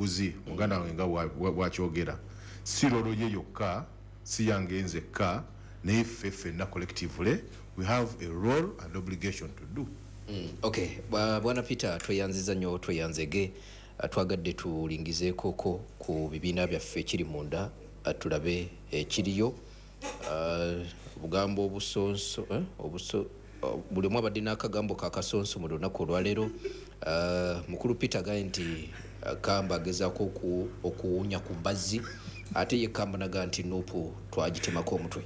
bw'enguzi, muganda wange nga bwakyogera, si role ye yokka, si yange nzekka, naye ffe ffenna collectively we have a role and obligation to do. Okay, bwana Peter, tweyanziza nnyo, tweyanzege. Twagadde tulingizeekoko ku bibiina byaffe ekiri munda, tulabe ekiriyo. Obugambo obusonso, buli omu abadde n'akagambo kakasonso mu lunaku olwaleero. Mukulu Peter agaye nti Kamba agezaako okuwunya ku mbazzi, ate ye Kamba naga nti NUP twagitemako omutwe.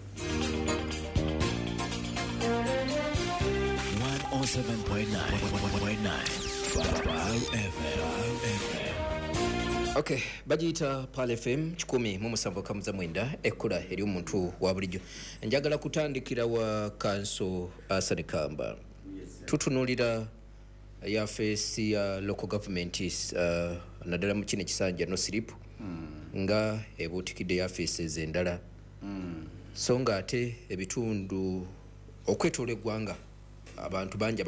107.9 FM. Okay, bagiyita Pearl FM 107.9, ekkula eri omuntu wa bulijjo. Njagala kutandikira wa Kanso Asani Kamba. Tutunuulira yafeesi ya local government, naddala mu kino ekisanja no slip, nga ebuutikidde yafeesi ez'endala, so nga ate ebitundu okwetoola eggwanga abantu bangi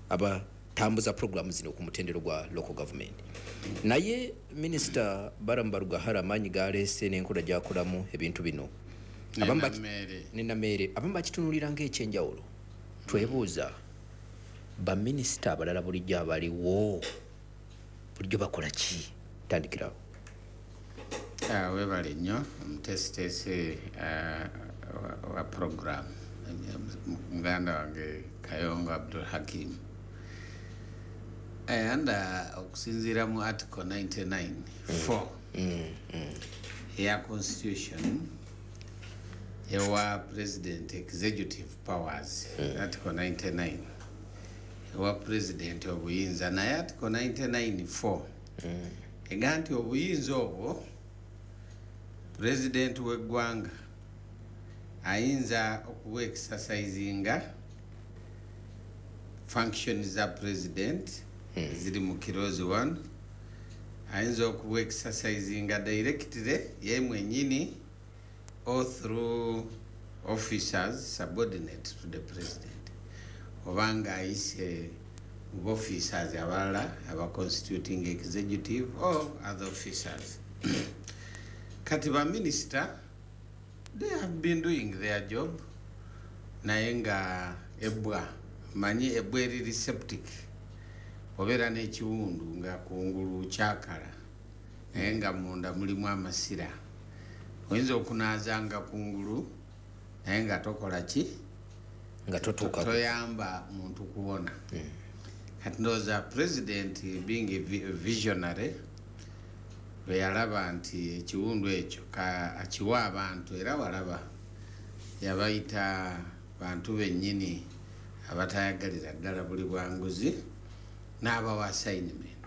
abatambuza programu zino ku mutendero gwa local government. Naye Minisita Balaam Barugahara amaanyi galeese n'enkola gy'akolamu ebintu bino, nenammeere, abamu bakitunuulira ng'ekyenjawulo. Twebuuza, baminisita abalala bulijjo abaliwo bulijjo bakola ki? Tandikirawo. Webale nnyo omuteesiteesi wa program, muganda wange Kayongo Abdul Hakim. Anda okusinziira mu article 99(4) ya constitution ewa president executive powers. Article 99 ewa president obuyinza, naye article 99(4) ega nti obuyinza obwo president w'eggwanga ayinza okuba exercisinga function za president ziri mu clause 1, ayinza okuba exercisinga directly ye mwenyini or through officers subordinate to the president, obanga ayise mu officers abalala aba constituting executive or other officers. Kati ba minister, they have been doing their job, naye nga ebbwa, manyi ebbwa eriri septic, obeera n'ekiwundu nga kungulu kyakala naye nga munda mulimu amasira, oyinza okunaazanga kungulu naye nga tokola ki? Nga totuuka. Toyamba muntu kuwona. Kati ndowooza president, being a visionary, bwe yalaba nti ekiwundu ekyo akiwa abantu, era walaba yabayita bantu bennyini abatayagalira ddala buli bwanguzi, n'abawa assignment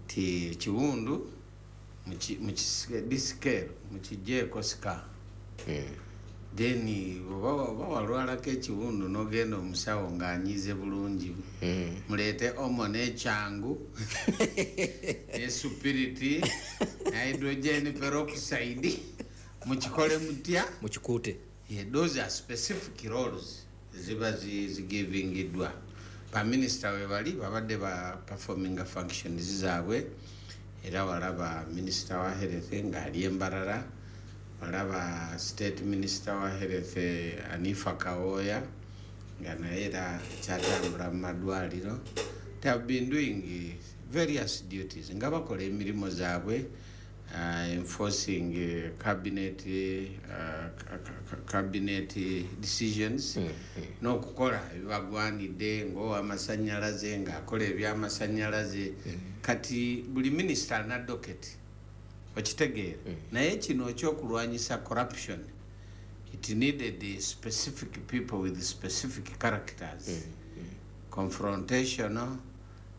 ti ekiwundu descale, mukiggyeeko scar. Then oba walwalako ekiwundu n'ogenda omusawo ng'anyize bulungi, muleete omo n'ekyangu ne supiriti ne hydrogen peroxide, mukikole mutya? Mukikuute. Yeah, those are specific roles ziba zigivingiddwa baminisita. We bali babadde ba performinga functions zaabwe, era walaba minisita wa health ng'ali embarara, walaba state minister wa health Anifa Kawooya nga naye era kyatambula mu madwaliro. They have been doing various duties nga bakola emirimu zaabwe, enforcing cabinet decisions n'okukola ebibagwanidde ng'owamasanyalaze ng'akola ebyamasanyalaze. Kati buli minisita alina docket, okitegeera? Naye kino ekyokulwanyisa corruption, it needed specific people with specific characters, confrontational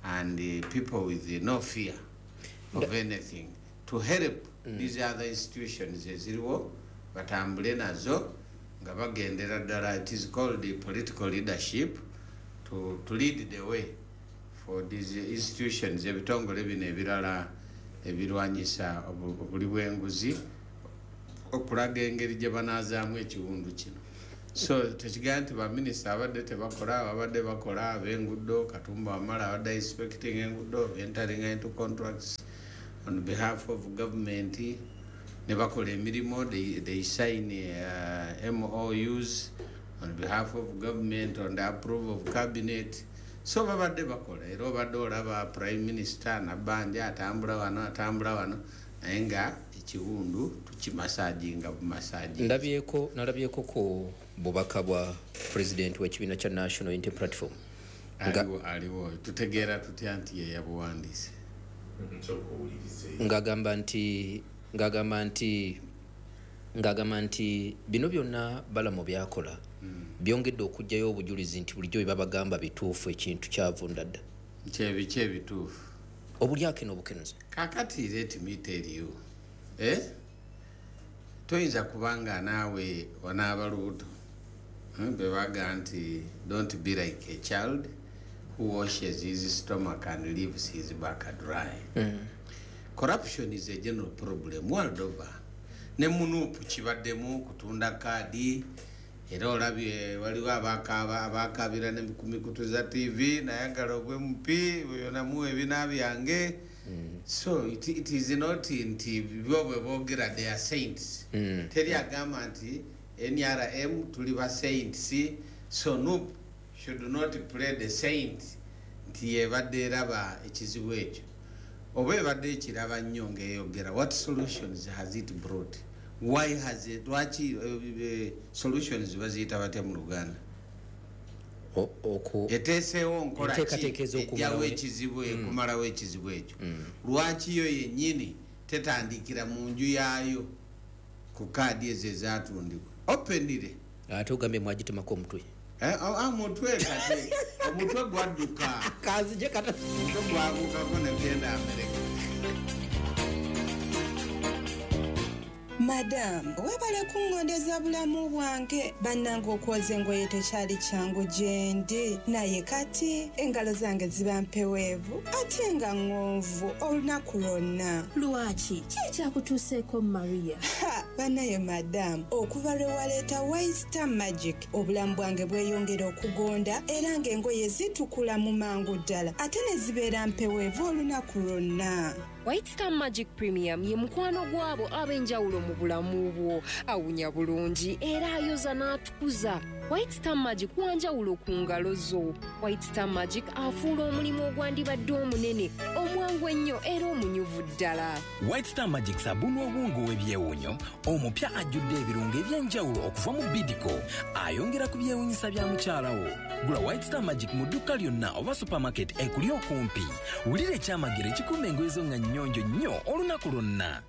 and people with no fear of anything, to help these other institutions eziriwo batambule nazo nga bagendera ddala. It is called the political leadership to lead the way for these institutions, ebitongole bino ebirala ebirwanyisa obuli bw'enguzi, okulaga engeri gye banaazaamu ekiwundu kino. So tekigamba nti baminisita abadde tebakola, abadde bakola. Ab'enguudo, Katumba Wamala abadde inspecting enguudo, entering into contracts. on behalf of government ne bakola emirimu. They sign MOUs on behalf of government on the approval of cabinet. So babadde bakola, era obadde olaba Prime Minister Nabbanja atambula wano, atambula wano, naye nga ekiwundu tukimasajinga bumasaji. Ndabyeko, nalabyeko ku bubaka bwa president w'ekibiina kya National Unity Platform. Aliwo, aliwo. Tutegeera tutya nti ye yabuwandiise? Ng'agamba nti bino byonna Balamu byakola byongedde okuggyayo obujulizi nti bulijjo bye babagamba bituufu, ekintu kyavunda dda. Kyebiki ebituufu? Obulyake n'obukenuzi. Kakati let me tell you, eh? Toyinza kubanga naawe onaaba lubuto. Bebaga nti don't be like a child who washes his stomach and leaves his back dry. Corruption is a general problem world over. Ne mu NUP kibaddemu kutunda kaadi, era olabye waliwo abakaabira ne ku mikutu za TV, nayagala obwe MP oyo ebina byange. So it is not nti bo bwe boogera they are saints. Teri agamba nti NRM tuli ba saints. So NUP should not play the saint nti yebadde eraba ekizibu ekyo, oba ebadde ekiraba nnyo ng'eyogera. What solutions has it brought? Why has it, lwaki solutions baziyita batya mu Luganda? Eteeseewo nkola ki Enteekateeka ez'okumalawo ejjawo ekizibu, ekumalawo ekizibu ekyo? Lwaki yo yennyini tetandikira mu nju yaayo ku kaadi ezo ezatundibwa openire? Ate ogambye mwagitemako omutwe. Eh, oh, mutwe, kati omutwe gwadduka. Kazije kata. Omutwe gwagukako negenda Amerika. Madamu, webale kuŋŋondeza bulamu bwange. Bannange, okwoza engoye tekyali kyangu gye ndi, naye kati engalo zange ziba mpeweevu ate nga ŋŋonvu olunaku lwonna. Lwaki? Ki ekyakutuuseeko, Maria? Ha, bannaye madamu, okuva lwe waleeta White Star Magic, obulamu bwange bweyongera okugonda, era ng'engoye zitukula mu mangu ddala ate ne zibeera mpeweevu olunaku lwonna. White Star Magic Premium ye mukwano gw'abo ab'enjawulo mu bulamu bwo. Awunya bulungi era ayoza n'atukuza. White Star Magic wanjawulo ku ngalo zo. White Star Magic afuula omulimu ogwandibadde omunene omwangu ennyo era omunyuvu ddala. White Star Magic sabbuuni obwongo ow'ebyewuunyo omupya ajjudde ebirungo eby'enjawulo okuva mu Bidco, ayongera ku byewuunyisa bya mukyala wo. Gula White Star Magic mu dduuka lyonna oba supermarket ekuli okumpi. Wulira ekyamagero ekikuuma engoye zo nga nnyonjo nnyo olunaku lwonna.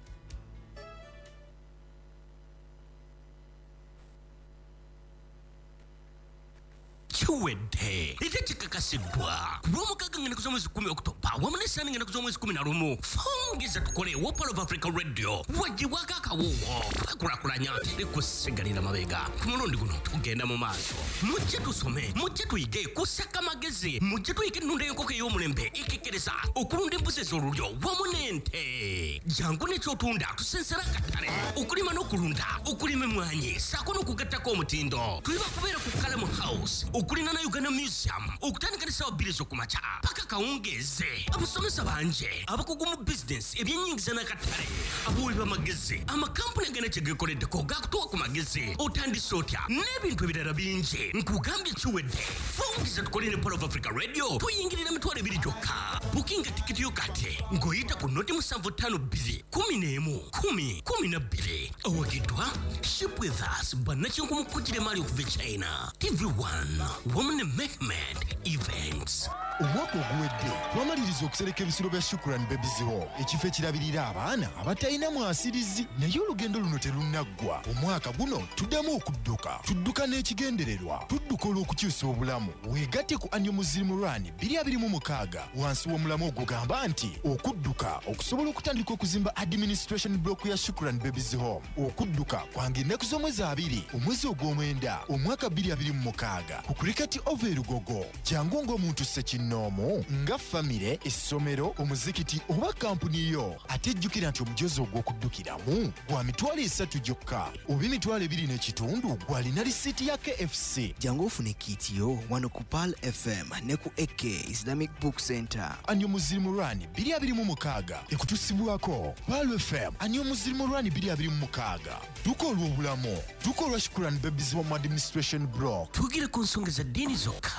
Kiwedde ate kikakasiddwa ku Lwomukaaga ng'ennaku z'omwezi 10 Okutoba wamu n'Essaani ng'ennaku z'omwezi 11. Fungisa tukole wa Pearl of Africa Radio wagibwako akawuwo kwekulaakulanya teri kusigalira mabega. Ku mulundi guno tugenda mu maaso. Mujje tusome, mujje tuyige kusaka magezi, mujje tuyige ennunda y'enkoko ey'omulembe ekekkereza, okulunda embuzi ez'olulyo wamu n'ente. Jangu n'ekyotunda tusensera akatale, okulima n'okulunda, okulima emmwanyi ssaako n'okugattako omutindo. Tuliba kubeera ku Kalamu House okulina na Uganda Museum okutandika ne ssaawa 2 ez'okumakya paka kawungeeze. Abasomesa bangi abakugu mu bizinesi, ebyenyingiza n'akatale, abawi b'amagezi, amakampuni agana kye geekoleddeko gakutuwa ku magezi, otandise otya n'ebintu ebirala bingi. Nkugambye kiwedde. Fungiza tukole ne Pearl of Africa Radio, tuyingirira 20,000 gyokka. Bukinga tikiti yo kati ng'oyita ku 0752 11 10 12. Awagiddwa Ship With Us, bannakinku mu kugira emaali okuva e China, TV1 wamu ne Mehmed Events. Omwaka oguwedde twamaliriza okusereka ebisulo bya Shukran Babies Home, ekifo ekirabirira abaana abatalina mwasirizi, naye olugendo luno terunnaggwa. Omwaka guno tuddamu okudduka, tudduka n'ekigendererwa, tudduka olw'okukyusa obulamu. Weegatte ku Annual Muslim Run 2026 wansi w'omulamu ogugamba nti okudduka okusobola okutandika okuzimba administration block ya Shukran Babies Home. Okudduka kwange ennaku z'omwezi 2 omwezi ogw'omwenda omwaka 2026 ku Cricket Oval e Lugogo. Jangu ng'omuntu ssekinnoomu, nga famire, essomero, omuzikiti oba kampuni yo. Ate jjukira nti omujozi ogw'okuddukiramu gwa 30,000 gyokka oba 2,500 gwalina risiiti ya KFC. Jangu ofune kit yo wano ku Pearl FM ne ku AK Islamic Book Center. Annual Muslim Run 2026 ekutusibwako Pearl FM. Annual Muslim Run 2026, dduka olw'obulamu, dduka olwa Shukran Babies Home Administration Block. Twogere ku nsonga za ddiini zokka,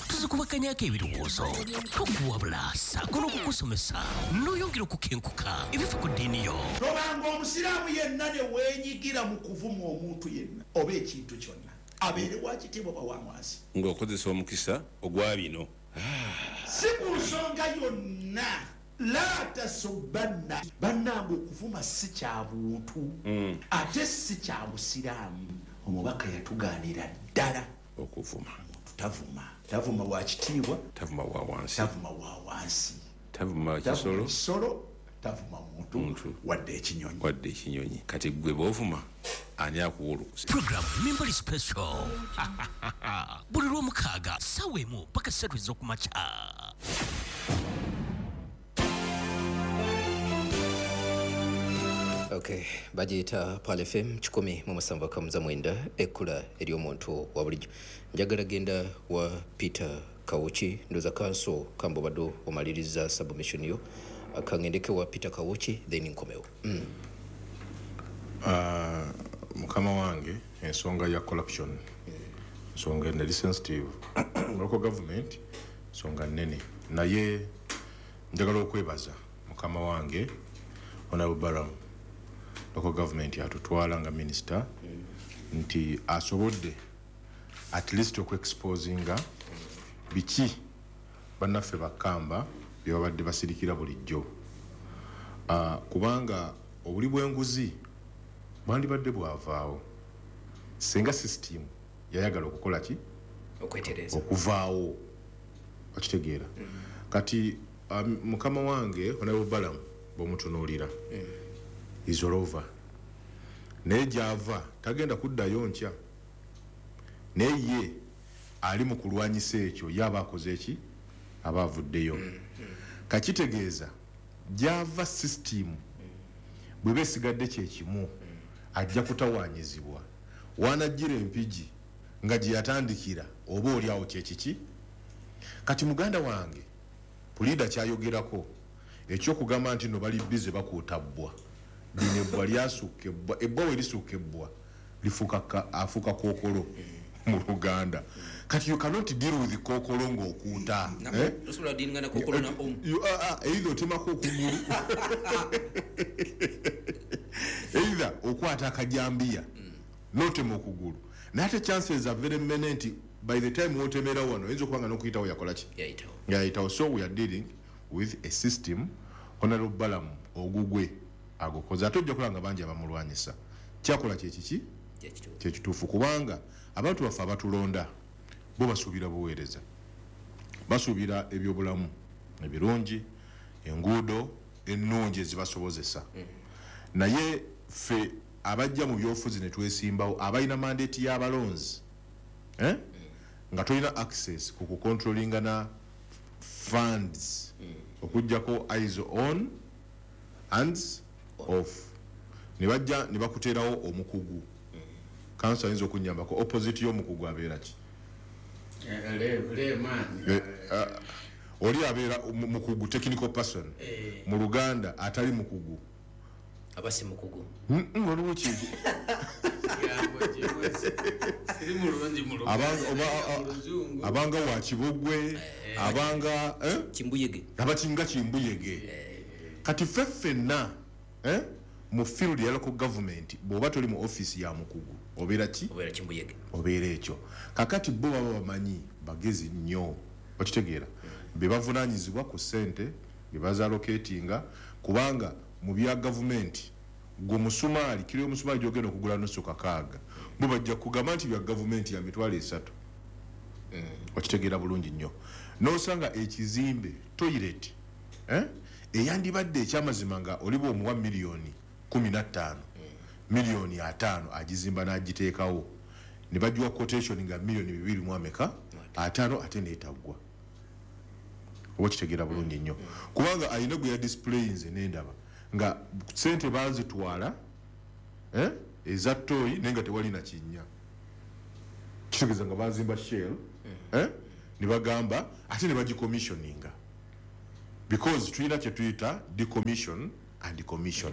tuzikubakanyako ebirowoozo, tukuwabula ssaako n'okukusomesa n'oyongera okukenkuka ebifa ku ddiini yo. Tobanga omusiraamu yenna ne weenyigira mu kuvuma omuntu yenna oba ekintu kyonna, abeere wa kitiibwa oba wa wansi, ng'okozesa omukisa ogwa bino. Si ku nsonga yonna. La tasubanna. Bannange, okuvuma si kya buntu ate si kya busiraamu. Omubaka yatugaanira ddala okuvuma. Tavuma, tavuma wa kitiibwa, tavuma wa wansi, tavuma wa wansi, tavuma tavuma kisolo, kisolo, tavuma muntu wadde ekinyonyi, wadde ekinyonyi. Kati gwe bw'ovuma, ani akuwa olukusa? Program Mimbali Special buli lwomukaaga ssaawa 1 paka 3 ez'okumakya. Okay, bagiyita Pearl FM 107.9, ekkula ery'omuntu wa bulijjo. Njagala genda wa Peter Kawuki. Ndoza kanso kamba obadde omaliriza submission yo, kangendeke wa Peter Kawuki, then nkomewo. Mukama wange, ensonga ya corruption nsonga eri sensitive, local government nsonga nnene, naye njagala okwebaza mukama wange Honorable Balaam, local government atutwala nga minisita, nti asobodde at least okuexposinga biki bannaffe bakamba bye babadde basirikira bulijjo. Kubanga obuli bw'enguzi bwandibadde bwavaawo singa system yayagala okukola ki? Okwetereza. Okuvaawo, okitegeera? Kati mukama wange Honorable Balaam bw'omutunuulira is all over, naye gy'ava tagenda kuddayo nkya, naye ye ali mu kulwanyisa ekyo. Ye aba akoze eki, aba avuddeyo. Kakitegeeza gy'ava system bweba esigadde kyekimu, ajja kutawaanyizibwa wanajjira Empigi nga gye yatandikira oba oli awo kyekiki. Kati muganda wange puliida kyayogerako ekyokugamba nti no bali bize bakuuta bbwa, lino ebbwa lyasukka ebbwa, ebbwa we lisukka ebbwa lifuuka afuuka kookolo mu Luganda. Kati you cannot deal with kookolo ng'okuuta. Eh? Osobola dealinga na kookolo na omu. Either otemako okugulu, either okwata akajambiya n'otema okugulu, naye ate chances are very many nti by the time wotemera wano oyinza okuba nga n'okuyitawo yakola ki? Yayitawo. Yayitawo. So we are dealing with a system. Honorable Balaam ogugwe agukoze, ate ojja kulaba nga bangi abamulwanyisa. Kyakola kyekiki? Kyekituufu, kubanga abantu baffe abatulonda bo basuubira buweereza, basuubira ebyobulamu ebirungi, enguudo ennungi ezibasobozesa. Naye ffe abajja mu byobufuzi ne twesimbawo, abalina mandate y'abalonzi, eh? Nga tolina access ku kucontrollinga na funds okugjako eyes on, hands off, ne bajja ne bakuteerawo omukugu. Kanso ayinza okunyambako, opposite y'omukugu abeera ki? Layman. Oli abeera mukugu, technical person. Mu Luganda atali mukugu? Aba si mukugu. Waliwo kintu. Siri mulungi mu Luganda, Abanga mu Luzungu. Abanga wa kibogwe, abanga, eh? Kimbuyege. Abakinga kimbuyege. Kati ffe ffenna, eh? Mu field ya local government, bw'oba toli mu office ya mukugu obeera ki? Obeera kimbuyege. Obeera ekyo. Kakati bo baba bamanyi, bagezi nnyo, okitegeera? Be bavunaanyizibwa ku ssente, be bazallocatinga, kubanga mu bya gavumenti gwe musumaali, kiro y'omusumaali gyogenda okugula nusu 6, bo bajja kugamba nti bya gavumenti ya 300,000. Okitegeera bulungi nnyo? N'osanga ekizimbe, toilet, eh? Eyandibadde ekyamazima nga oli bw'omuwa miliyoni 15, miliyoni 50 agizimba n'agiteekawo, ne bagiwa quotation nga miliyoni bibiri mu ameka ataano, ate neetaggwa. Oba okitegeera bulungi nnyo? Kubanga alina gwe yadisplayinze nendaba nga sente bazitwala, eh? Eza toyi, naye nga tewali na kinnya. Kitegeeza nga bazimba shell, eh? Ne bagamba ate ne bagicommissioninga. Because tulina kye tuyita decommission and commission.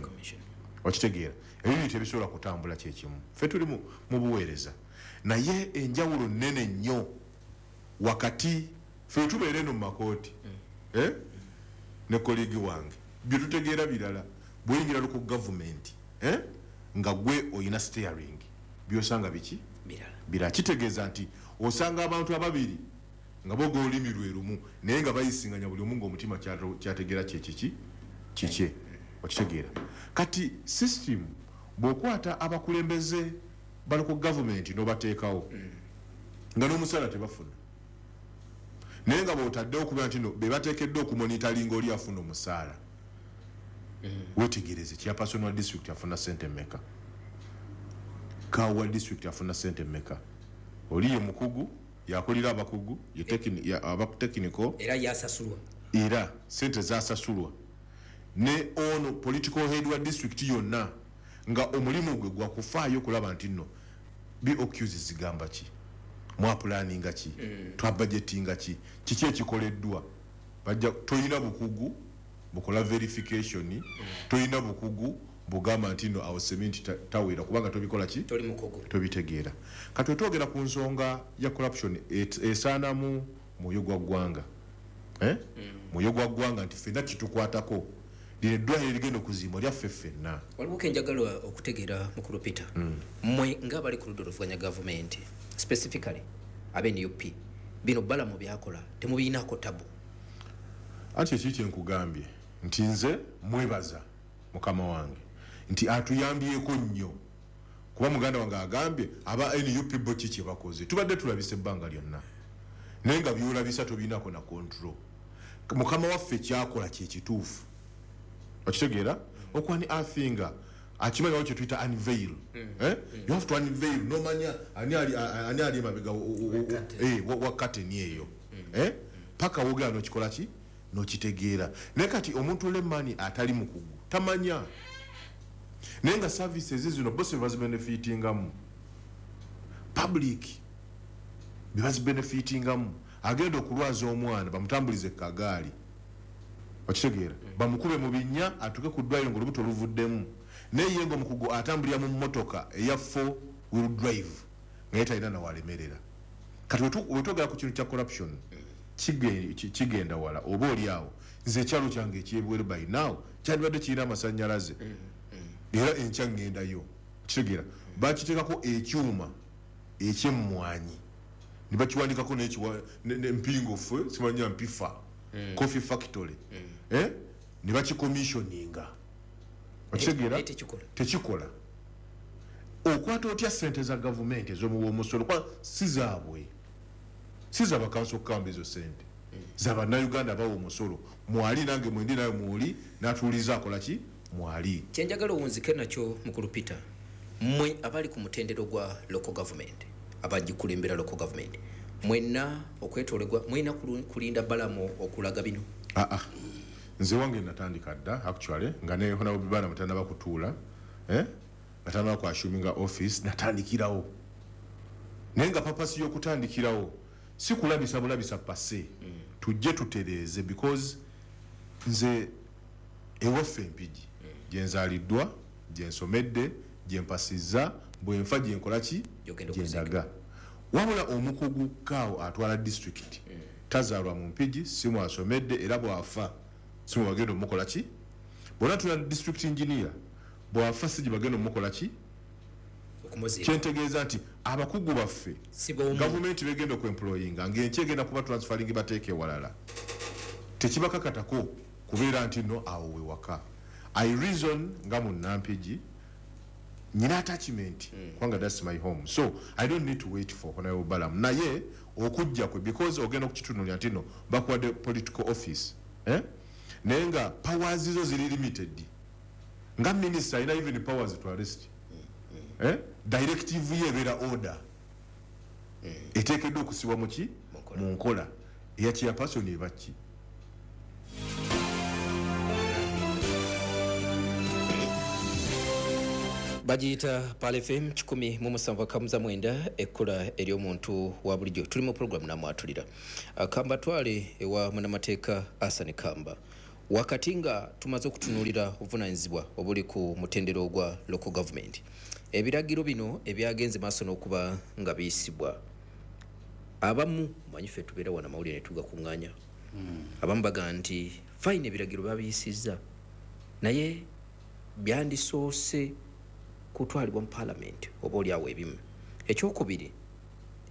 Okitegeera? Ebibiri tebisobola kutambula kyekimu. Ffe tuli mu buweereza, naye enjawulo nnene nnyo wakati ffe tubeera eno mu makooti, eh? Ne colleague wange bye tutegeera birala. Bweyingira ku gavumenti, eh? Nga gwe oyina steering, byosanga biki? Birala. Kitegeeza nti osanga abantu ababiri nga boga olulimi lwe lumu, naye nga bayisinganya buli omu ng'omutima kyategeera kyekiki kikye. Okitegeera? Kati system bw'okwata abakulembeze bali ku gavumenti n'obateekawo nga n'omusala tebafuna, naye nga bw'otaddewo okubeera nti no be bateekeddwa okumonitalinga oli afuna omusaala, wetegereze chairperson wa district afuna sente mmeka, kawa district afuna sente mmeka. Oli ye mukugu, yakulira abakugu, ye abatekiniko, era yasasulwa, era sente zasasulwa. Ne ono political head wa district yonna nga omulimu gwe gwa kufaayo kulaba nti nno BOQs zigamba ki, mwapulaninga ki, twabudgetinga ki, kiki ekikoleddwa. Bajja toyina bukugu bukola verification, toyina bukugu bugamba nti no awo cement tawera kubanga tobikola ki, toli mukugu, tobitegeera. Kati wetwogera ku nsonga ya corruption esaanamu mwoyo gwa ggwanga, mwoyo gwa ggwanga nti ffenna kitukwatako, lino eddwaliro erigenda okuzimbwa lyaffe ffenna. Waliwo kenjagala okutegeera, mukulu Peter. Mmwe ng'abali ku ludda oluvuganya gavumenti, specifically abe NUP, bino Balamu byakola temubiyinako tabu? Anti ekiri kyenkugambye nti nze mwebaza mukama wange nti atuyambyeko nnyo, kuba muganda wange agambye aba NUP bo ki kye bakoze, tubadde tulabisa ebbanga lyonna, naye nga byolabisa tobinako na control. Mukama waffe kyakola kyekituufu. Okitegeera? Okwani afinga akimanyi kye tuyita unveil. Eh? You have to unveil nomanya ani ali emabega wa curtain eyo, eh? Paka wogera n'okikola ki, n'okitegeera. Naye kati omuntu lemani atali mukugu tamanya, naye nga services zino bo bazibenefitingamu, public bebazibenefitingamu. Agenda okulwaza omwana bamutambulize kagaali, okitegeera, bamukube mu binnya atuuke ku ddwaliro ng'olubuto luvuddemu, naye ye ng'omukugu atambulira mu mmotoka eya 4 wheel drive nga ye talina nawalemerera. Kati wetwogera ku kintu kya corruption kigenda wala. Oba oli awo nze ekyalo kyange ekyebweru by now kyandibadde kirina amasannyalaze, era enkya ŋŋendayo. Okitegeera? Bakiteekako ekyuma ekyemmwanyi ne bakiwandikako n'empingo ffe simanya mpifa coffee factory, ne bakicommissioninga. Okitegeera? Tekikola. Okwata otya sente za gavumenti ez'omuwa omusolo, kuba si zaabwe, si za bakanso kukamba ezo sente za bannayuganda bawa omusolo. Mwali nange mwendi naye mwoli n'atuuliza akola ki mwali. Kyenjagala owunzike nakyo, mukulu Peter, mmwe abali ku mutendero gwa local government, abagikulembera local government, mwenna okwetoolebwa mulina kulinda Balamu okulaga bino? Aa, nze wange natandika dda actually nga ne honorable Balamu tannaba kutuula, nga tannaba ku assuminga office, natandikirawo. Naye nga purpose y'okutandikirawo si kulabisa bulabisa pase, tujje tutereeze, because nze ewaffe Empigi gye nzaaliddwa, gye nsomedde, gye mpasizza, bwe nfa gye nkola ki, gye ndaga. Wabula omukugu kaawo atwala district tazaalwa mu Mpigi, si mwasomedde, era bw'afa si mwe bagenda omukola ki. Bw'ona tula district engineer bw'afa si gye bagenda omukola ki. Kyentegeeza nti abakugu baffe gavumenti begenda okwemployinga ng'enkya egenda kuba transferring bateeke ewalala, tekibakakatako kubeera nti no awo we waka. I reason nga munnampigi nyina attachment, kubanga that's my home, so I don't need to wait for honorable Balamu. Naye okujja kwe, because ogenda okukitunulira nti no bakuwadde political office, naye nga powers zo ziri limited. Nga minister alina even powers to arrest, directive ye ebeera order eteekeddwa okusibwa muki mu nkola eya chairperson eba ki. Bagiyita Pearl FM 107.9, ekkula ery'omuntu wa bulijjo. Tuli mu program namwatulira. Kamba twale ewa munnamateeka Asani Kamba. Wakati nga tumaze okutunuulira obuvunaanyizibwa obuli ku mutendera ogwa local government, ebiragiro bino ebyagenze maaso n'okuba nga biyisibwa, abamu manyi ffe tubeera wano amawulire ne tugakuŋŋaanya, abamu bagamba nti fine, ebiragiro babiyisizza, naye byandisoose kutwalibwa mu paalamenti oba oliawo ebimu. Ekyokubiri,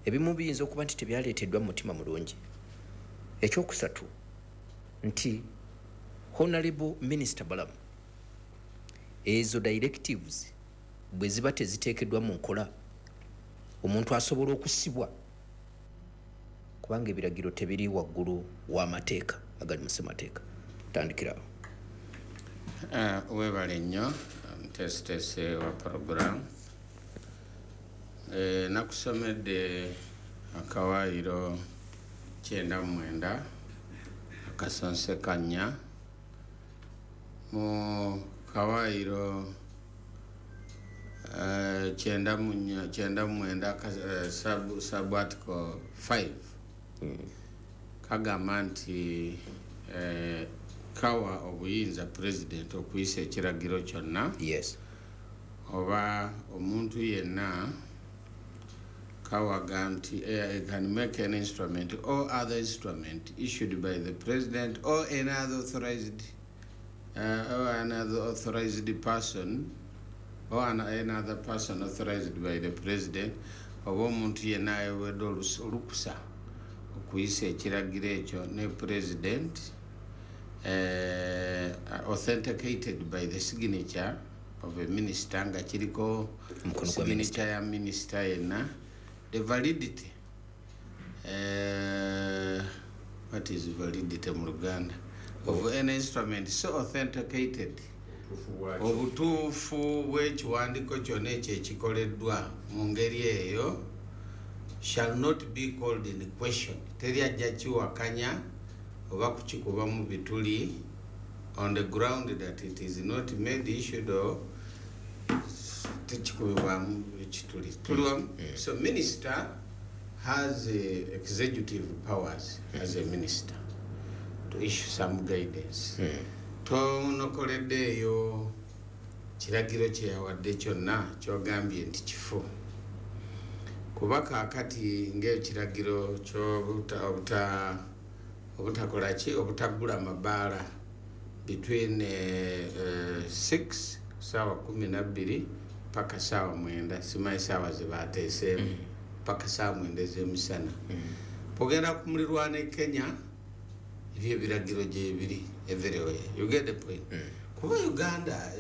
ebimu biyinza okuba nti tebyaleeteddwa mu mutima mulungi. Ekyokusatu nti Honorable Minister Balamu, ezo directives bwe ziba teziteekeddwa mu nkola, omuntu asobola okusibwa kubanga ebiragiro tebiri waggulu w'amateeka agali mu ssemateeka. Tandikirawo. Webale nnyo omuteesiteesi wa program. Nakusomedde akawaayiro 99(4). Mu kawaayiro 94 sub article 5 kagamba nti kawa obuyinza president okuyisa ekiragiro kyonna oba omuntu yenna. Kawaga nti can make an instrument or other instrument issued by the president or another authorized or another authorized person or another person authorized by the president, oba omuntu yenna aweebwa olukusa okuyisa ekiragiro ekyo ne president, authenticated by the signature of a minister, nga kiriko Omukono gwa signature ya minister yenna. The validity, what is validity mu Luganda, of any instrument so authenticated, obutuufu bw'ekiwandiiko kyonna ekyo ekikoleddwa mu ngeri eyo, shall not be called in question, teri ajja kiwakanya oba kukikuba mu bituli, on the ground that it is not made, issued or tekikubibwamu ekituli. Tuli wamu? So minister has executive powers as a minister to issue some guidance. Tonokoleddeeyo kiragiro kye yawadde kyonna kyogambye nti kifo, kuba kaakati ng'ekiragiro obutakola ki, obutaggula mabaala between 6, saawa 12 paka saawa 9, simanyi saawa ze bateeseemu, paka saawa 9 ez'emisana. Bwogenda ku mulirwano e Kenya, ebyo ebiragiro gyebiri everywhere. You get the point? Kuba Uganda,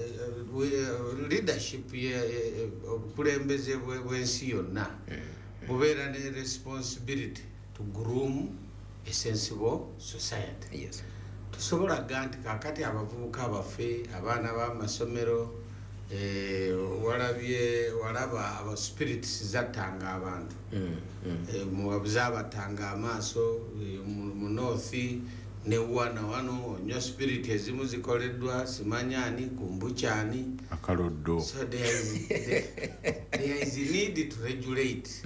leadership, obukulembeze bw'ensi yonna bubeera ne responsibility to groom a sensible society. Tusobola ga nti kakati abavubuka baffe, abaana b'amasomero, walabye walaba aba spirits zattanga abantu, zabatanga amaaso, mu north ne wana wano onywa spirit ezimu zikoleddwa simanyani kumbukyani. Akaloddo. So there is a need to regulate,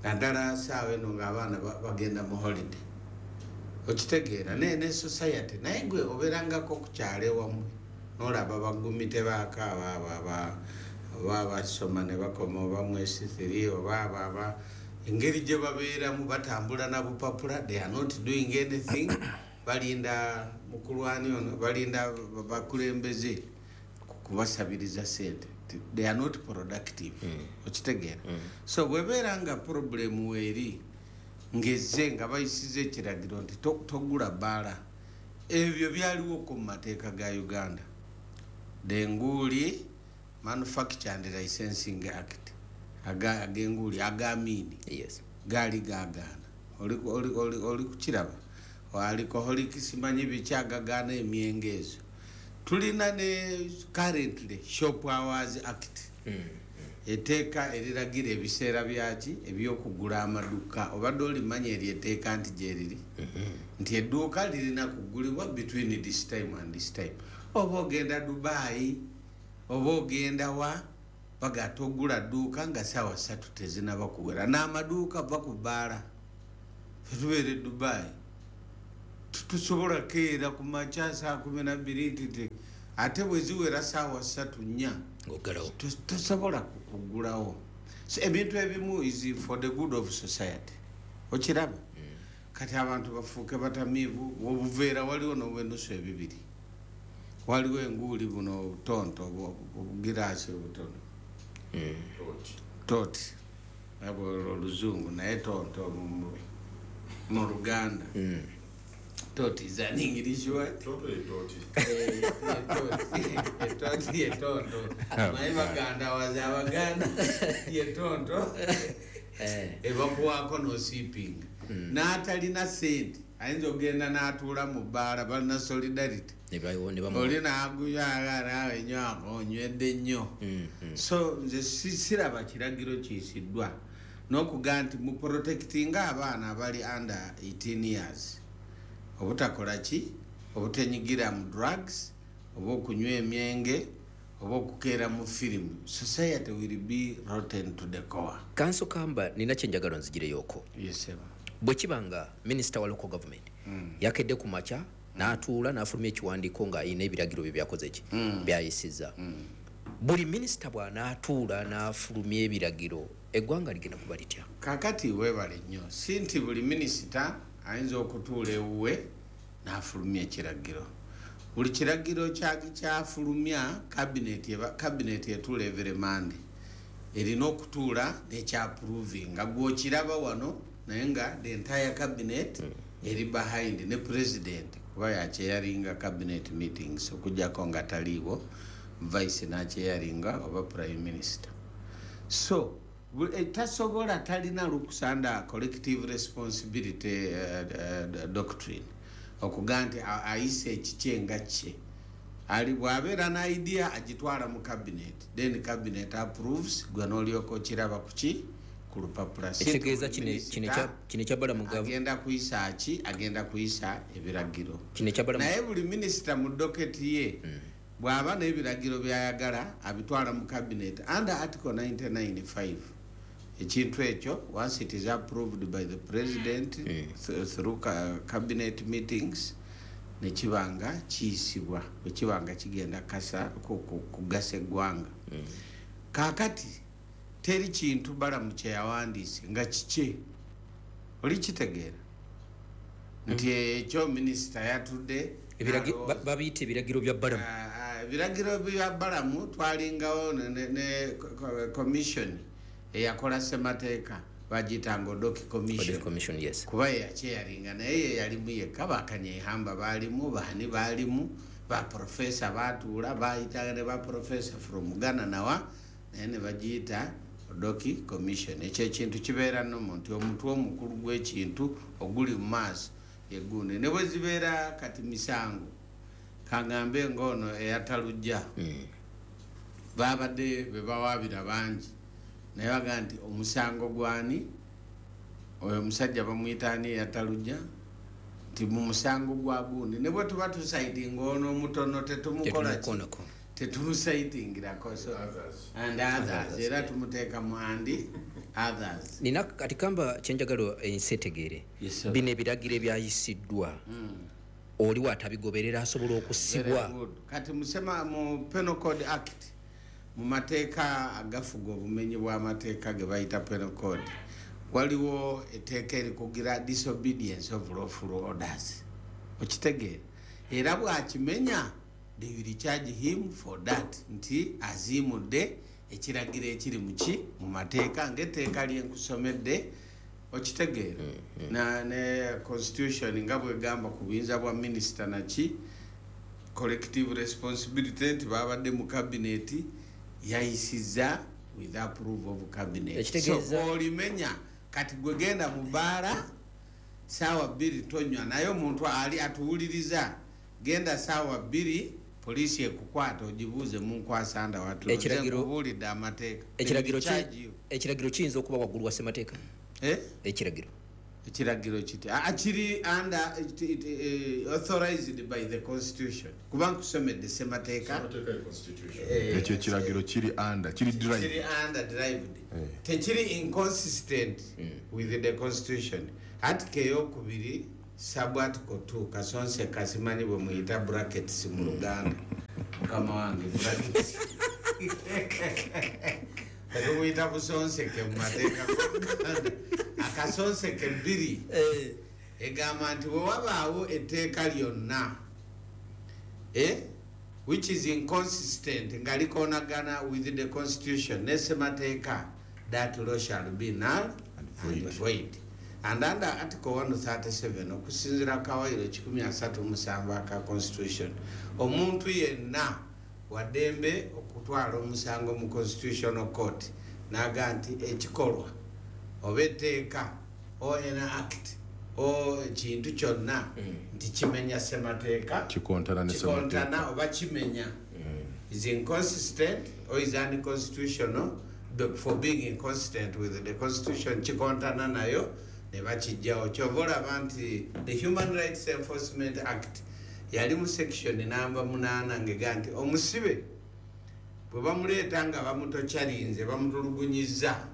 naddala saawa eno ng'abaana bagenda mu holiday. Okitegeera? Ne society, naye gwe obeerangako ku kyalo ewammwe nolaba bagumi tebaakaaba, abo oba basoma ne bakoma oba mu S3, oba abo aba engeri gye babeeramu batambula na bupapula, they are not doing anything. Balinda mukulwani ono, balinda bakulembeze kubasabiriza sente. They are not productive. Okitegeera? So bwebeera nga problem weeri ngezze nga bayisiza ekiragiro nti togula bbaala, ebyo byaliwo ku mateeka ga Uganda, the Enguli Manufacture and Licensing Act, ag'enguli ag'amiini gaali gagaana. Oli kukiraba, alcoholic simanyi biki agagaana emyenge ezo. Tulina ne currently Shop Hours Act, etteeka eriragira ebiseera byaki ebyokugula amaduuka. Obadde olimanya eryo etteeka nti gyeriri, nti edduuka lirina kugulibwa between this time and this time? Oba ogenda Dubai oba ogenda wa, baga togula dduuka nga saawa 3 tezinaba kuwera n'amaduuka va ku bbaala. Fetubeera e Dubai. Tusobola keera ku makya saa 12 nti ate bwe ziwera saawa 3 4 ng'oggalawo. Tosobola kuggulawo. So ebintu ebimu is for the good of society. Okiraba? Kati abantu bafuuke batamiivu, obuveera waliwo n'obwenusu ebibiri. Waliwo enguuli buno obutonto obugiraasi obutono. Toti. Abo oluzungu naye tonto mu Luganda. Toti is an English word. Toto ye toti. Toti ye tonto. Naye Baganda waze Abaganda ye tonto. Ebakuwaako n'osiipinga. N'atalina ssente ayinza okugenda n'atuula mu bbaala, balina solidarity. Oli n'aguya naawe nywako onywedde nnyo. So nze siraba kiragiro kiyisiddwa n'okugamba nti mu protectinga abaana abali under 18 years obutakola ki, obutenyigira mu drugs oba okunywa emyenge oba okukeera mu firimu. Society will be rotten to the core. Kanso Kamba, nina kyenjagala nzigireyoko. Yes, sir. Bwe kiba nga minisita wa local government yakedde ku makya n'atuula n'afulumya ekiwandiiko ng'ayina ebiragiro bye byakoze ki byayisizza. Buli minisita bw'anaatuula n'afulumya ebiragiro, eggwanga ligenda kuba litya? Kakati weebale nnyo. Si nti buli minisita ayinza okutuula ewuwe n'afulumya ekiragiro. Buli kiragiro kyafulumya cabinet etuula every Monday. Erina okutuula n'ekyapprovinga. Gw'okiraba wano naye nga the entire cabinet eri behind ne president kuba yakyeyaringa cabinet meetings okuggyako nga taliiwo vice n'akyeyaringa oba prime minister. So tasobola, talina lukusa under collective responsibility doctrine okugamba nti ayise ekikye nga kye. Ali bw'abeera n'idea agitwala mu cabinet, then cabinet approves, gwe n'olyoka okiraba ku ki ku lupapula. Ekitegeeza kino ekya Balamu agenda kuyisa ki? Agenda kuyisa ebiragiro. Kino ekya Balamu naye buli minisita mu docket ye bw'aba n'ebiragiro by'ayagala abitwala mu cabinet under article 99.5. Ekintu ekyo once it is approved by the president through cabinet meetings ne kibanga kiyisibwa, bwe kibanga kigenda kasa kugasa eggwanga. Kaakati teri kintu Balamu kye yawandiise nga kikye. Oli kitegeera nti ekyo minisita yatudde babiyita ebiragiro bya Balamu. Ebiragiro bya Balamu twalingawo ne commission eyakola ssemateeka bagiyitanga Odoki Commission. Commission, yes. Kuba ye yakyeyaringa naye ye yalimu yekka, bakanyehamba baalimu, baani baalimu, ba professor baatuula bayitanga ne ba professor from Ghana nawa, naye ne bagiyita Odoki Commission. Ekyo ekintu kibeera nnomo nti omutwe omukulu gw'ekintu oguli mu maaso yegundi. Ne bwe zibeera kati misango, kaŋŋambe ng'ono eyatalujja babadde be bawaabira bangi, naye baga nti omusango gwani oyo omusajja bamuyita ani eyatalujja, nti mu musango gwa gundi ne bwe tuba tusaitinga ono omutono tetumukola ki, tetumusaitingirako. So and others, era tumuteeka mu and others. Nina kati Kamba kyenjagala ensi etegeere. Bino ebiragiro ebyayisiddwa oliwo atabigoberera asobola okusibwa. Kati musema mu Penal Code Act, mu mateeka agafuga obumenyi bw'amateeka ge bayita Penal Code, waliwo etteeka erikugira disobedience of lawful orders. Okitegeera? Era bw'akimenya they will charge him for that, nti aziimudde ekiragiro ekiri muki mu mateeka ng'etteeka lyenkusomedde. Okitegeera? Ne constitution nga bwegamba ku buyinza bwa minisita naki collective responsibility nti babadde mu cabinet yayisizza with approval of cabinet. So bw'olimenya kati gwe genda mu bbaala saawa 2 tonywa, naye omuntu ali atuwuliriza genda saawa 2 poliisi ekukwata ogibuuze munkwasanda watubuulidde amateeka. Ekiragiro kiyinza okuba waggulu wa ssemateeka? Ekiragiro ekiragiro kiti kiri under authorized by the constitution, kuba nkusomedde ssemateeka. Ekyo ekiragiro kiri under, kiri derived, kiri under derived, tekiri inconsistent with the constitution. Article eyokubiri sub article 2 kasonse kasimanyi bwe muyita brackets mu Luganda, mukama wange, brackets tumuyita busonseke mu mateeka g'Oluganda, akasonseke 2 egamba nti bwe wabaawo etteeka lyonna which is inconsistent, nga likoonagana with the constitution ne ssemateeka, that law shall be null and void. And under article 137, okusinziira kawairo 137 aka constitution, omuntu yenna waddembe okutwala omusango mu constitutional court n'aga nti ekikolwa oba etteeka or an act o ekintu kyonna nti kimenya ssemateeka, kikontana ne ssemateeka, kikontana oba kimenya, is inconsistent or is unconstitutional for being inconsistent with the constitution, kikontana nayo ne bakijjawo. Kyova olaba nti the Human Rights Enforcement Act yali mu section namba 8 ng'ega nti omusibe bwe bamuleeta nga bamutokyalinze, bamutulugunyiza,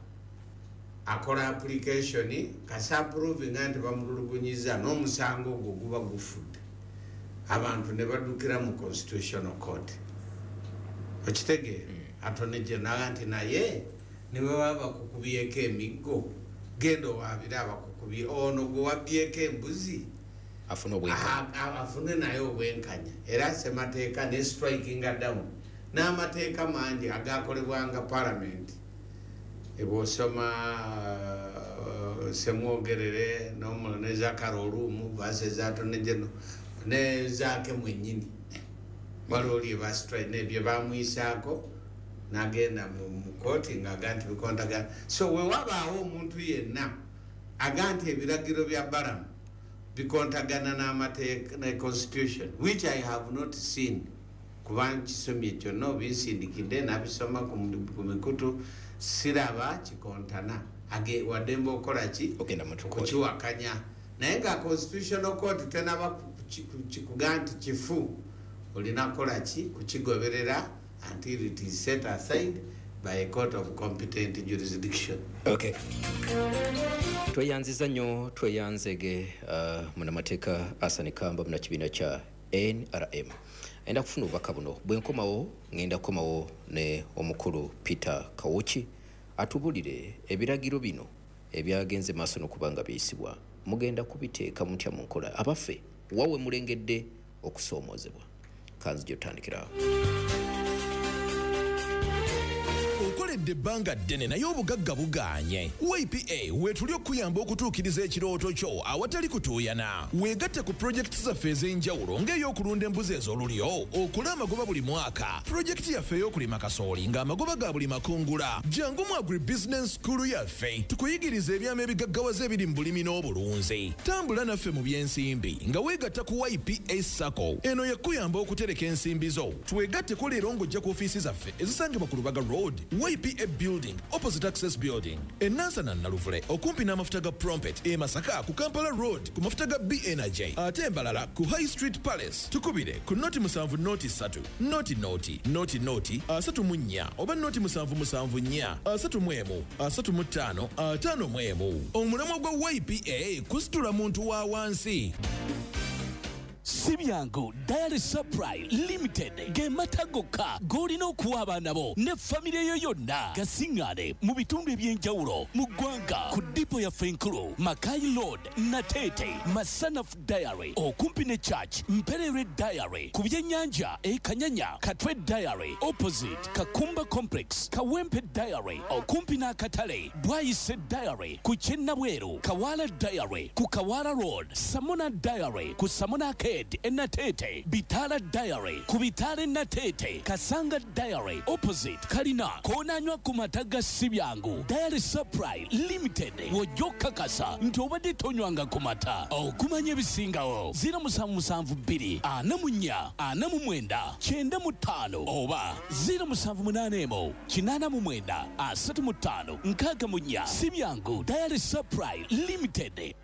akola application kasa approvinga nti bamutulugunyiza n'omusango ogwo guba gufudde, abantu ne baddukira mu constitutional court. Okitegeera? Attorney General nti naye ne bwe baba bakukubyeko emiggo, genda owaabire abakukubye, ono gwe wabbyeko embuzi afune obwenkanya, afune naye obwenkanya. Era ssemateeka ne strikinga down n'amateeka mangi agakolebwanga parliament. Bw'osoma Semwogerere ne Zakara Olumu versus Attorney General ne Zaake mwennyini, waliwo lye bastrike bye bamuyisaako n'agenda mu kooti ng'aga nti bikontagana. So we wabaawo omuntu yenna aga nti ebiragiro bya Balamu bikontagana n'amateeka ne constitution, which I have not seen, kuba nkisomye kyonna obinsindikidde nabisoma ku mikutu, siraba kikontana, waddembe okukola ki, kukiwakanya. Naye nga constitutional court tenaba kugaa nti kifu, olina kukola ki, kukigoberera until it is set aside by a court of competent jurisdiction. Okay. Tweyanziza nnyo, tweyanzege munnamateeka Hassan Kamba munnakibiina kya NRM. Enda kufuna obubaka buno, bwe nkomawo ngenda kukomawo ne omukulu Peter Kawuki atubulire ebiragiro bino ebyagenze maaso n'okuba nga biyisibwa, mugenda kubiteeka mutya mu nkola, abaffe wawe mulengedde okusoomoozebwa. Kanzija otandikirawo. Okoledde ebbanga ddene naye obugagga bugaanye. YPA weetuli okuyamba okutuukiriza ekirooto kyo awatali kutuuyana. Weegatte ku pulojekiti zaffe ez'enjawulo ng'ey'okulunda embuzi ez'olulyo, okola amagoba buli mwaka, pulojekiti yaffe ey'okulima kasooli ng'amagoba ga buli makungula. Jangu mu agribusiness school yaffe tukuyigiriza ebyama ebigaggawaza ebiri mu bulimi n'obulunzi. Tambula naffe mu by'ensimbi nga weegatta ku YPA SACCO. Eno yakuyamba okutereka ensimbi zo. Twegatteko leero ng'ojja ku ofiisi zaffe ezisangibwa ku Lubaga Road, YPA Building, opposite Access Building, e Nansana Naluvule okumpi n'amafuta ga Prompet, e Masaka ku Kampala Road ku mafuta ga BNJ, ate Mbalala ku High Street Palace. Tukubire ku 07 03 00 00 34 oba 07 74 31 35 51. Omulamwa gwa YPA kusitula muntu wa wansi. Si byangu Dairy Supply Limited ge mata gokka g'olina okuwa abaana bo ne famire yo yonna, gasiŋŋaane mu bitundu eby'enjawulo mu ggwanga ku dipo yaffe enkulu Makai Road, Nateete, Masanaf Dairy okumpi ne Church, Mperere Dairy ku byennyanja e Kanyanya, Katwe Dairy opposite Kakumba Complex, Kawempe Dairy okumpi n'akatale, Bwayise Dairy ku Kyennabweru, Kawala Dairy ku Kawala Road, Samona Dairy ku Samona Arcade Enatete, Bitala Dairy ku Bitale Natete, Kasanga Dairy opposite Kalina, koonanywa ku mata ga Sibyangu Dairy Supply Limited. Wojja okukakasa nti obadde tonywanga ku mata. Okumanya ebisingawo 0772 44 49 95 oba 0781 89 35 64. Sibyangu Dairy Supply Limited,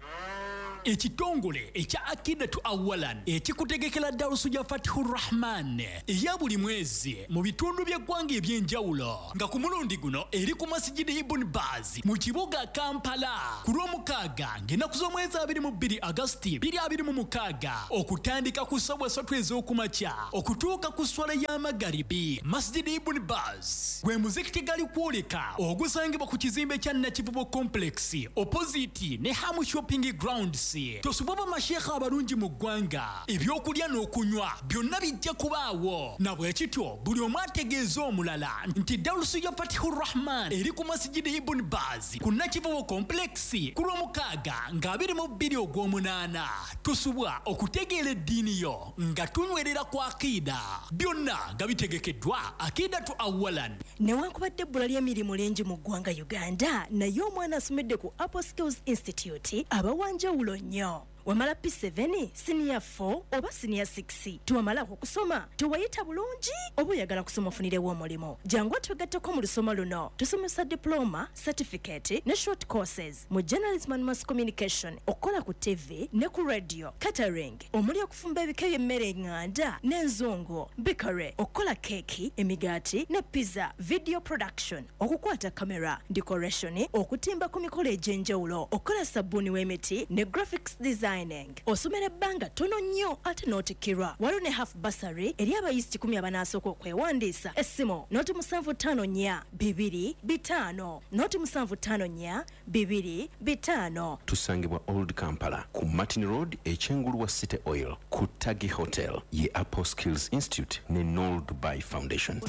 Ekitongole ekya Akidatu Awalan ekikutegekera darusu ya Fathur Rahman eya buli mwezi mu bitundu by'eggwanga eby'enjawulo, nga ku mulundi guno eri ku Masjid Ibn Baz mu kibuga Kampala ku Lwomukaaga ng'ennaku z'omwezi 22 Agasti 2026 okutandika ku ssaawa 3 ez'okumakya okutuuka ku sswala y'amagaribi. Masjid Ibn Baz gwe muzikiti gali kwoleka ogusangibwa ku kizimbe kya Nakivubo Complex opposite ne Hamu Shopping Grounds. Tosubwa bamashekha abalungi mu ggwanga, ebyokulya n'okunywa byonna bijja kubaawo. Na bwe kityo buli omu ategeeza omulala nti darusu ya Fathur Rahman eri ku Masjid Ibn Baz ku Nakivubo Complex ku Lwomukaaga nga 22 ogw'omunaana. Tusubwa okutegeera eddiini yo nga tunywerera ku akida. Byonna nga bitegekeddwa Akidatu Awalan. Newankubadde ebbula ly'emirimu lingi mu ggwanga Uganda, naye omwana asomedde ku Apple Skills Institute aba wa njawulo nnyo. Wamala P7, senior 4 oba senior 6, tewamalako kusoma, tewayita bulungi oba oyagala kusoma ofunirewo omulimu, jangu otwegatteko mu lusoma luno. Tusomesa diploma, certificate ne short courses mu journalism and mass communication, okukola ku TV ne ku radio, catering omuli okufumba ebika by'emmere eŋŋanda n'enzungu, bakery, okukola keeki, emigaati ne pizza, video production, okukwata kamera, decoration, okutimba ku mikolo egy'enjawulo, okukola sabbuuni w'emiti ne graphics design. Osomera ebbanga ttono nnyo ate n'otikkirwa. Waliwo ne half bursary eri abayizi 10 abanaasooka okwewandiisa. Essimu 0754 2 5 0754 2 5. Tusangibwa Old Kampala ku Martin Road ekyengulu wa City Oil ku Tagi Hotel ye Apple Skills Institute ne Noel Dubai Foundation.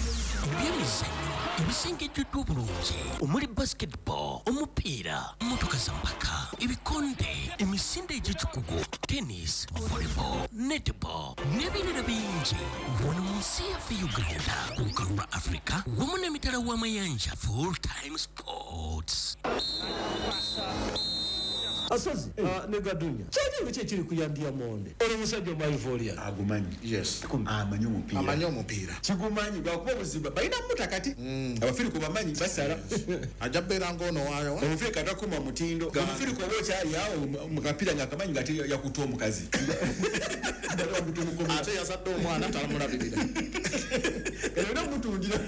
Ebyemizannyo ebisengejjeddwa obulungi omuli basketball, omupiira, mmotoka za mpaka, ebikonde, emisinde egy'ekikugu, tennis, volleyball, netball n'ebirala bingi. Wano mu nsi yaffe Uganda ku lukalu lwa Africa wamu n'emitala w'amayanja. Full time sports. Asozi ne Gadunya kyali ki ekiri kuyambya monde oli musajja omwaivolia agumanyi. Yes, amanyi omupiira, amanyi omupiira kigumanyi lwakuba obuzibu balina mutakati abafirika bamanyi basala ajja beera ng'ono waayo omufirika takuma mutindo. Omufirika oba okyali awo mu kapiira nga akamanyi nga yakuta omukazi ate yazadde omwana talamulabirira. Olina omutundira,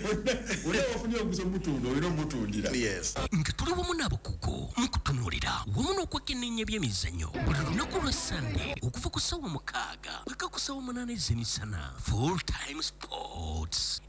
olina wafunye omuguzi omutunda, olina omutundira. Yes, nga tuli wamu n'abakugu mu kutunuulira wamu n'okwekenneenya ebyemizannyo buli lunaku lwa Sande okuva ku ssaawa 6 paka ku ssaawa 8 ez'emisana. Full time sports,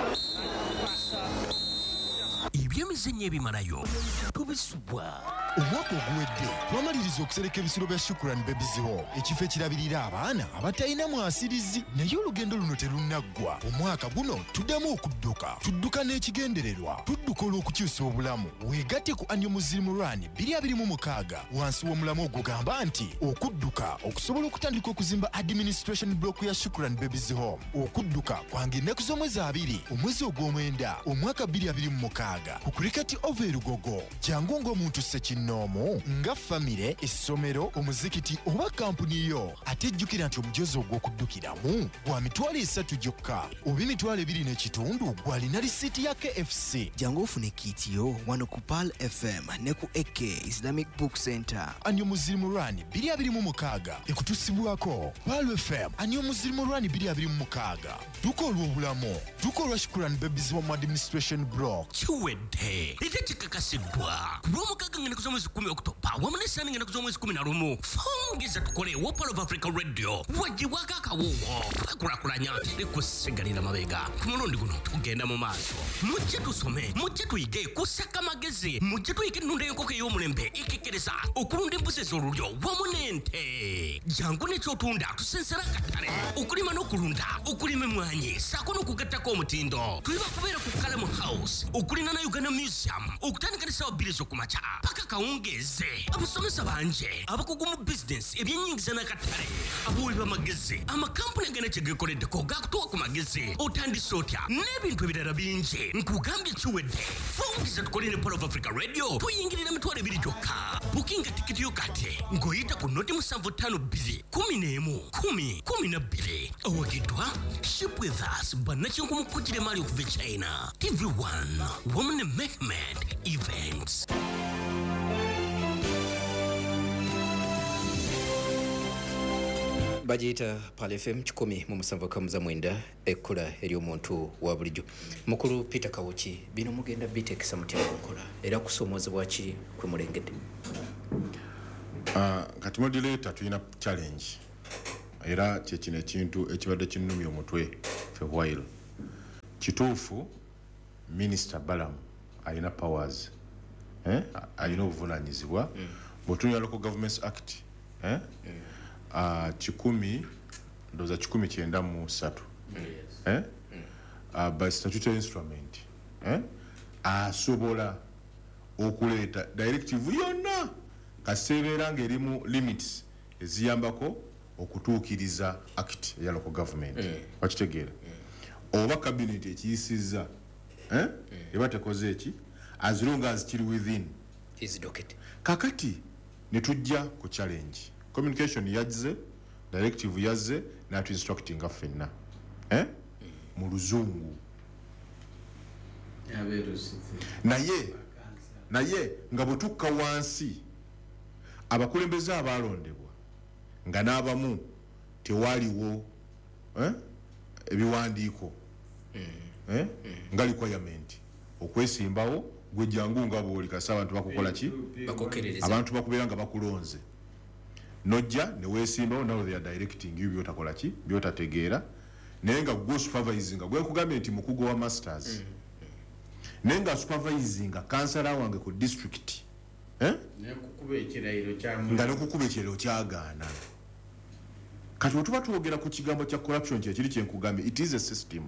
ebyemizannyo ebimalayo tubisubwa. Omwaka oguwedde twamaliriza okusereka ebisulo bya Shukran Babies Home, ekifo ekirabirira abaana abatalina mwasirizi, naye olugendo luno terunnaggwa. Omwaka guno tuddamu okudduka, tudduka n'ekigendererwa, tudduka olw'okukyusa obulamu. Weegatte ku Annual Muslim Run 2026 wansi w'omulamu ogugamba nti okudduka okusobola okutandika okuzimba administration block ya Shukran Babies Home. Okudduka kwange ennaku z'omwezi 2 omwezi ogw'omwenda omwaka 2026 ku Cricket Oval e Lugogo. Jangu ng'omuntu ssekinnoomu, nga famire, essomero, omuzikiti oba kampuni yo. Ate jjukira nti omujozi ogw'okuddukiramu gwa 300,000 gyokka oba 2,500 gw'alina risiiti ya KFC. Jangu ofune kiiti yo wano ku Pearl FM ne ku AK Islamic Book Center. Annual Muslim Run 2026 ekutusibwako Pearl FM. Annual Muslim Run 2026 dduka olw'obulamu, dduka olwa Shukran Babies Home Administration Block. Kiwedde ate kikakasiddwa ku Lwomukaaga ng'ennaku z'omwezi 10 Okutoba wamu ne Sande ng'ennaku z'omwezi 11. Fongeza tukole wa Pearl of Africa Radio wagibwako akawuwo kwekulaakulanya teri kusigalira mabega. Ku mulundi guno tugenda mu maaso. Mujje tusome, mujje tuyige kusaka amagezi, mujje tuyige ennunda y'enkoko ey'omulembe ekekkereza okulunda embuzi ez'olulyo wamu n'ente. Jangu n'ekyotunda tusensera akatale, okulima n'okulunda, okulima emmwanyi ssaako n'okugattako omutindo. Tuli bakubeera ku Kalamu House okulina na Uganda Museum okutandika ne ssaawa 2 ez'okumakya paka kawungeeze. Abasomesa bangi abakugu mu bizinesi, ebyennyingiza n'akatale, abawi b'amagezi, amakampuni agana kye geekoleddeko gakutuwa ku magezi, otandise otya n'ebintu ebirala bingi. Nkugambye kiwedde. Fungiza tukole ne Pearl of Africa Radio tuyingirira 2,000 gyokka. Bukinga tikiti yo kati ng'oyita ku 0752 11 10 12. Awagiddwa Ship With Us, bannakinku mu kugira emaali okuva e China, TV1 wamu ne Mehmed Events. Bagiyita Pal FM 107.9, ekkula ery'omuntu wa bulijjo. Mukulu Peter Kawuki, bino mugenda biteekesa mutya mu nkola, era kusomoozebwa ki kwe mulengedde? Kati moderator, tulina challenge, era kyekino ekintu ekibadde kinnumya omutwe for while. Kituufu Minisita Balamu alina powers, eh? Alina obuvunanyizibwa. Bw'otunula Local Governments Act, eh? 100, ndowooza 193, eh? By statutory instrument, eh? Asobola okuleeta directive yonna kaseebeera ng'erimu limits eziyambako okutuukiriza act eya local government. Wakitegeera? Oba cabinet ekiyisizza, eh? Eba tekoze eki, as long as kiri within his docket. Kakati ne tujja ku challenge. Communication yazze, directive yazze, natu instructinga ffenna, eh? Mu Luzungu. Naye nga bwe tukka wansi, abakulembeze abalondebwa nga n'abamu tewaliwo, eh? Ebiwandiiko, eh? Nga requirement okwesimbawo, gwe jangu nga bw'oli, kasi abantu bakukola ki? Bakukkiririza. Abantu bakubeera nga bakulonze, nojja ne weesimbawo. Now they are directing you byotakola ki, byotategeera, naye nga gwe supervising, gwe nkugambye nti mukugu wa masters, naye nga supervising kansala wange ku district, eh? Nekukuba ekirayiro kyamu. Nga nekukuba ekirayiro kyagaana. Kati bwe tuba twogera ku kigambo kya corruption, kyekiri kyenkugambye, it is a system.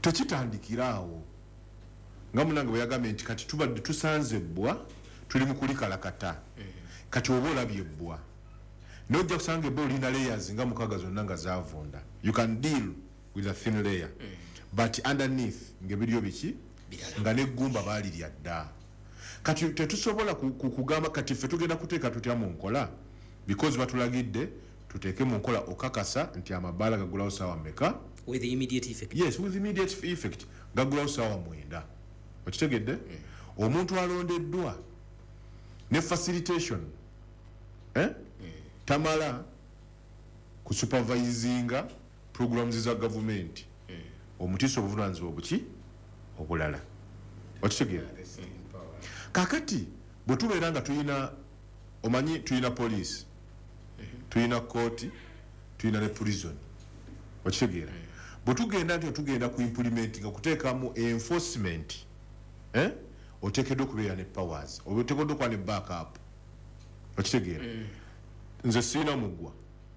Tekitandikira awo, nga munange bwe yagambye nti kati tubadde tusanze ebbwa, tuli mu kulikalakata. Kati oba olabye ebbwa, naye ojja kusanga ebbwa olina layers nga mukaaga, zonna nga zavunda. You can deal with a thin layer, but underneath ng'ebiryo biki, nga neggumba baalirya dda. Kati tetusobola kugamba kati ffe tugenda kuteeka tutya mu nkola, because batulagidde tuteeke mu nkola okakasa nti amabaala gagulawo saawa mmeka. With immediate effect. Yes, with immediate effect, gagulawo saawa 9. Okitegedde? Omuntu alondeddwa ne facilitation, eh? Tamala kusupervisinga programs za gavumenti, omutiisa obuvunanyizibwa obuki obulala. Okitegeera? Kakati bwe tubeera nga tulina, omanyi tulina poliisi, tulina kooti, tulina ne prison. Okitegeera? Bwe tugenda nti tugenda ku implement, nga kuteekamu enforcement, eh? Oteekeddwa okubeera ne powers, oba oteekeddwa okuba ne backup. Okitegeera? Nze sirina mugwa,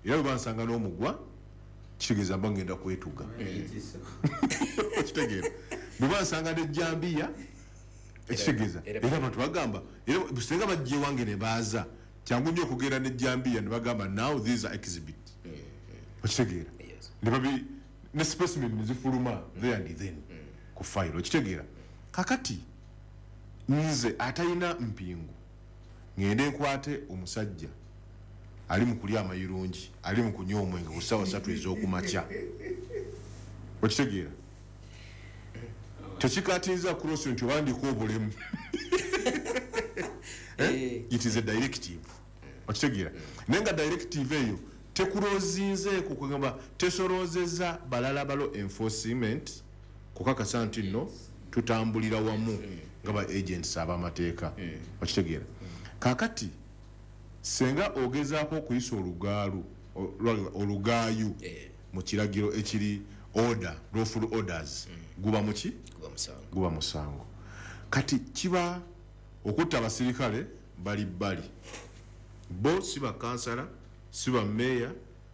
era bwe bansanga n'omugwa kitegeeza mba ngenda kwetuga. Okitegeera? Bwe bansanga nejjambiya ekitegeeza era abantu bagamba, era singa bajja ewange ne baaza, kyangu nnyo okugenda nejjambiya ne bagamba, "Now these are exhibit." Okitegeera? Ne babi ne specimen ne zifuluma there and then ku file. Okitegeera? Kakati nze atalina mpingu ngende nkwate omusajja ali mu kulya amayirungi, ali mu kunywa omwenge ku ssaawa 3 ez'okumakya, okitegeera? Tekikatinza cross nti obandika obulemu. Eh? It is a directive. Okitegeera? Naye nga directive eyo tekurozinzeeko, kugamba tesoroozeza balala balo enforcement kukakasa nti nno tutambulira wamu nga ba agents ab'amateeka. Okitegeera? Kakati senga ogezaako okuyisa olugaalu, olugaayu mu kiragiro ekiri order, lawful orders, guba muki? Guba musango. Guba musango. Kati kiba okutta abasirikale bali bbali, bo si bakansala, si ba meya,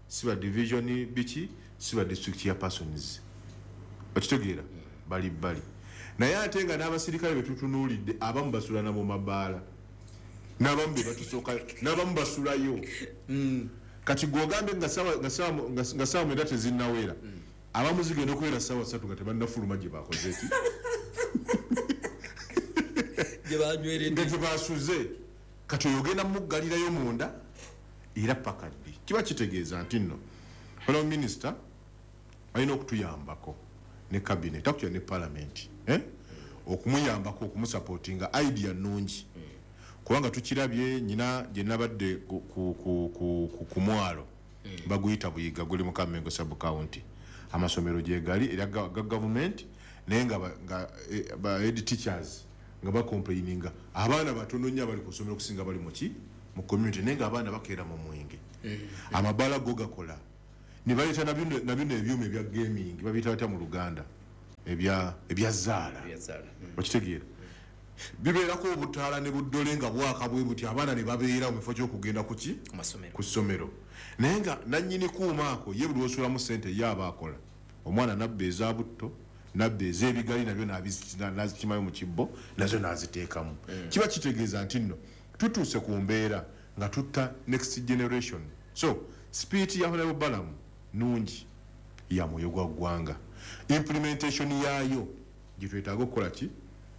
si ba division biki, si ba district ya persons. Okitegeera? Bali bbali, naye ate nga n'abasirikale betutunuulidde abamu basulana mu mabaala, n'abamu be batusookayo, n'abamu basulayo. Kati gwogambe nga saawa 9 tezinnawera, abamu zigenda okubeera saawa 3 nga tebannafuluma gye bakoze ki, nga gye basuze. Kati oyo ogenda muggalirayo munda era paka ddi? Kiba kitegeeza nti nno honorable minister alina okutuyambako ne cabinet, actually ne parliament, eh? Okumuyambako okumusupportinga. Idea nnungi, kubanga tukirabye nyina gye nabadde ku mwalo. Baguyita Buyiga, guli mu Kammengo sub county. Amasomero gye gali era ga gavumenti, naye nga ba head teachers nga bacomplaininga abaana batono nnyo abali ku ssomero okusinga bali muki mu community, naye nga abaana bakeera mu mwenge. Amabala go gakola ne baleeta na bino ebyuma ebya gaming, babiyita batya mu Luganda, ebya zaala, okitegeera, bibeerako obutaala ne buddole nga bwaka bwe buti, abaana ne babeera mu kifo ky'okugenda kuki ku ssomero. Naye nga nannyini kuuma ako ye buli lw'osulamu ssente ye aba akola, omwana nabba eza butto, nabba ez'ebigali, nabyo n'azikimayo mu kibbo, nazo n'aziteekamu. Kiba kitegeeza nti nno tutuuse ku mbeera nga tutta next generation. So spirit ya Honorable Balaam nungi, ya mwoyo gwa ggwanga. Implementation yaayo gye twetaaga okukola ki,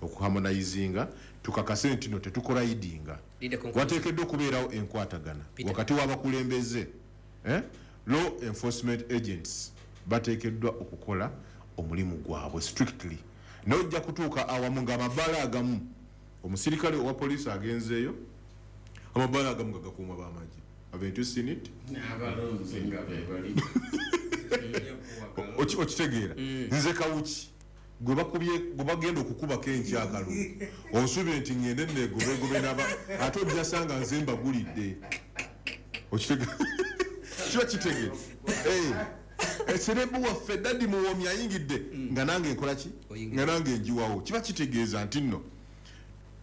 okuharmonizinga, tukakase nti no tetukolayidinga. Wateekeddwa okubeerawo enkwatagana wakati w'abakulembeze, law enforcement agents bateekeddwa okukola omulimu gwabwe strictly. Naye ojja kutuuka awamu ng'amabaala agamu omusirikale owa poliisi agenzeeyo, amabaala agamu nga gakuumwa b'amagye. Haven't you seen it? N'abalonzi nga be bali. Okitegeera? Nze Kawuki gwe bagenda okukubako enkyakalu, onsuubire nti ngende neegobegobe naba, ate ojja sanga nze mbagulidde. Okitegeera? Kiba kitegeera. Eserebu waffe Daddy Muwomi ayingidde nga nange nkola ki, nga nange njiwawo. Kiba kitegeeza nti nno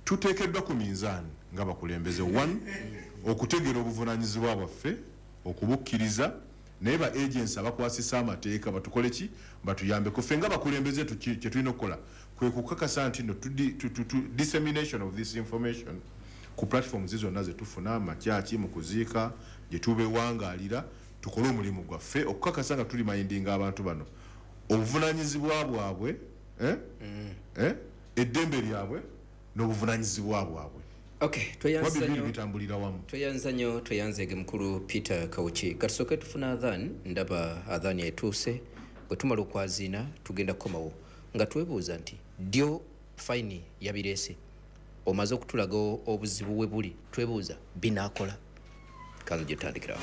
tuteekeddwa ku minzaani nga bakulembeze, one, okutegeera obuvunaanyizibwa bwaffe, okubukkiriza, naye ba agents abakwasisa amateeka batukole ki, batuyambeko. Ffe nga bakulembeze kye tulina okukola kwe kukakasa nti no dissemination of this information ku platforms zonna ze tufuna, amakyaki, mu kuziika gye tubewangaalira, tukole omulimu gwaffe okukakasa nga tuli mayindinga abantu bano obuvunaanyizibwa bwabwe, eddembe lyabwe n'obuvunaanyizibwa bwabwe. Okay, tweyanza nnyo, bitambulira wamu. Tweyanza nnyo, tweyanzeege mukulu Peter Kawuki. Katusooke tufuna adhan, ndaba adhan etuuse. Bwe tumala okwaziina tugenda kukomawo nga twebuuza nti ddyo fayini yabireese, omaze okutulaga obuzibu we buli, twebuuza binaakola. Kanzo gye tutandikirawo.